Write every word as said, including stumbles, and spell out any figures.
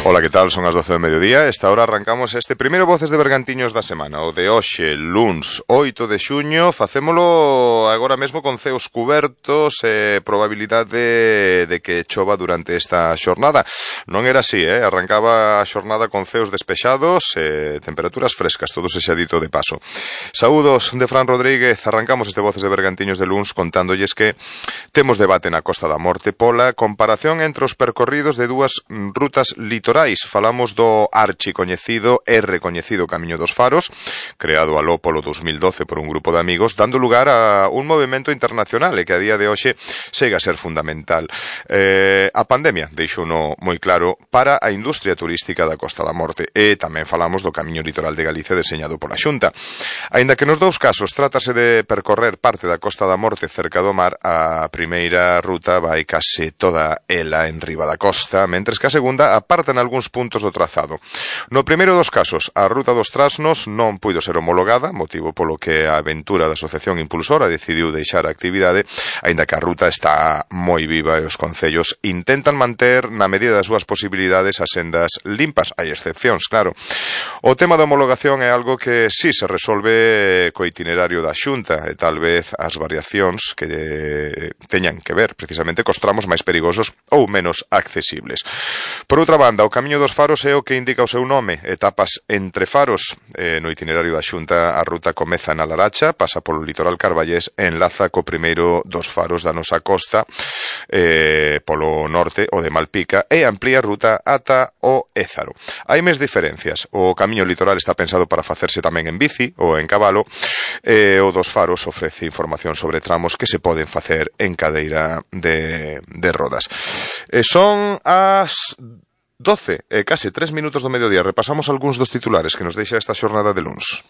Ola, que tal? Son as doce do mediodía. Esta hora arrancamos este primeiro Voces de Bergantiños da semana, o de hoxe, luns oito de xuño. Facémolo agora mesmo con ceos cubertos e probabilidade de que chova durante esta xornada. Non era así, eh? Arrancaba a xornada con ceos despexados e temperaturas frescas, todo se xa dito de paso. Saúdos de Fran Rodríguez. Arrancamos este Voces de Bergantiños de luns contándolles que temos debate na Costa da Morte pola comparación entre os percorridos de dúas rutas litorais. Falamos do archicoñecido e recoñecido Camiño dos Faros, creado aló polo dos mil doce por un grupo de amigos, dando lugar a un movimento internacional e que a día de hoxe segue a ser fundamental. Eh, a pandemia deixouno moi claro para a industria turística da Costa da Morte, e tamén falamos do Camiño Litoral de Galicia deseñado pola Xunta. Aínda que nos dous casos trátase de percorrer parte da Costa da Morte cerca do mar, a primeira ruta vai case toda ela en riba da costa, mentres que a segunda aparta en algúns puntos do trazado. No primeiro dos casos, a ruta dos Trasnos non puido ser homologada, motivo polo que a aventura da Asociación Impulsora decidiu deixar a actividade, aínda que a ruta está moi viva e os concellos intentan manter na medida das súas posibilidades as sendas limpas. Hai excepcións, claro. O tema da homologación é algo que si se resolve co itinerario da Xunta e tal vez as variacións que teñan que ver precisamente cos tramos máis perigosos ou menos accesibles. Por outra banda, o Camiño dos Faros é o que indica o seu nome, etapas entre faros. Eh, no itinerario da Xunta a ruta comeza na Laracha, pasa polo litoral carballés e enlaza co primeiro dos faros da nosa costa, eh, polo norte, o de Malpica, e amplía a ruta ata o Ézaro. Hai máis diferencias. O Camiño Litoral está pensado para facerse tamén en bici ou en cabalo, e o dos Faros ofrece información sobre tramos que se poden facer en cadeira de, de rodas. E son as doce e case tres minutos do mediodía. Repasamos algúns dos titulares que nos deixa esta xornada de luns.